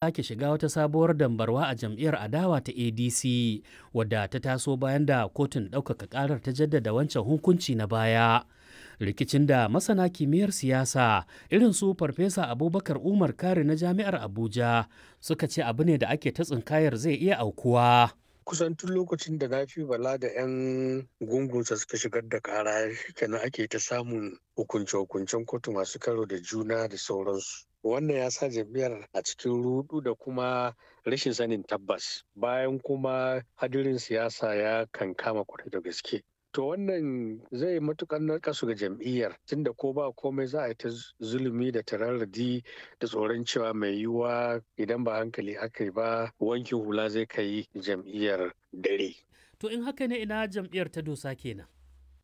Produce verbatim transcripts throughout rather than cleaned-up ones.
Sake shiga wata sabuwar dambarwa a jam'iyyar adawa ta A D C, wadda ta taso bayan da kotun ɗaukaka ƙarar ta jaddada wancan hukunci na baya. Rikicin da masana kimiyyar siyasa irin su Farfesa Abubakar Umar Kari na Jami'ar Abuja suka ce abu ne da ake ta tsinkayar zai iya aukuwa. Kusan tun lokacin da Nafi Bala da 'yan gungunsa suka shigar da kara kenan ake ta samun hukunce-hukuncen kotu masu karo da juna da sauransu. Wannan ya sa jam'iyyar a cikin rudu da kuma rashin sanin tabbas, bayan kuma hadirin siyasa ya kankama kwarai da gaske. To, wannan zai matukar narkasu ga jam'iyyar, tunda ko ba komai za a yi ta zulumi da tararradi da tsoron cewa mai yiwuwa idan ba hankali aka yi ba, wankin hula zai kai jam'iyyar dare. To, in haka ne, ina jam'iyyar ta dosa kenan?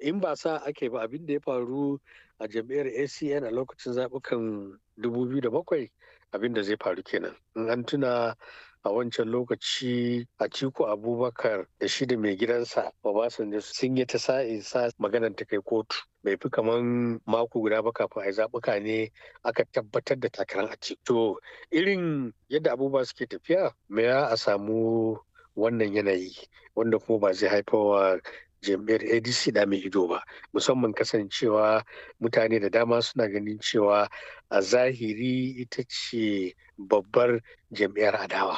In ba sa ake ba, abin da ya faru a jam'iyyar A C N a lokacin zaɓukan dubu biyu da bakwai, abin da zai faru kenan. In an tuna, a wancan lokaci Atiku Abubakar da shi da mai gidansa Obasanjo sun yi ta sa'in sa maganar ta kai kotu. Bai fi kaman mako guda ba kafin a yi zaɓuka ne aka tabbatar da takarar Atiku. To, irin yadda abubuwa suke tafiya, me ya a samu wannan yanayi wanda kuma ba zai haifarwa jam'iyyar A D C da mai ido ba, musamman kasancewa mutane da dama suna ganin cewa a zahiri ita ce babbar jam'iyyar adawa.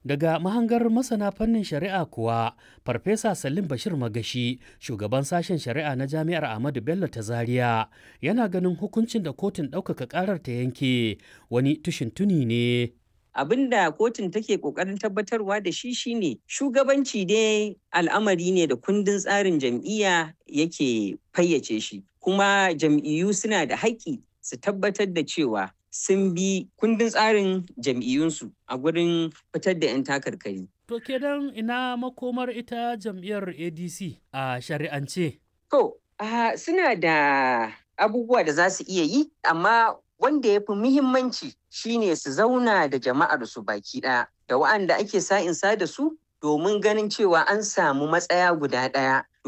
Daga mahangar masana fannin shari'a kuwa, Farfesa Salim Bashir Magashi, shugaban sashen shari'a na Jami'ar Ahmadu Bello ta Zaria, yana ganin hukuncin da kotun ɗaukaka ƙarar ta yanke wani tushin tuni ne. Abin da kotun take kokarin tabbatarwa da shi shine shugabanci dai al'amari ne da kundin tsarin jam'iyya yake fayyace shi, kuma jam'iyyu suna da haƙƙi su tabbatar da cewa sun bi kundin tsarin jam'iyyunsu a gurin fitar da 'yan takarkari. To, kenan ina makomar ita jam'iyyar A D C a shari'ance? To, uh, suna da abubuwa da za su iya yi, amma wanda ya fi muhimmanci shine su zauna da jama'ar su baki ɗaya da wa'anda ake sa'insa da su domin ganin cewa an samu matsaya guda ɗaya.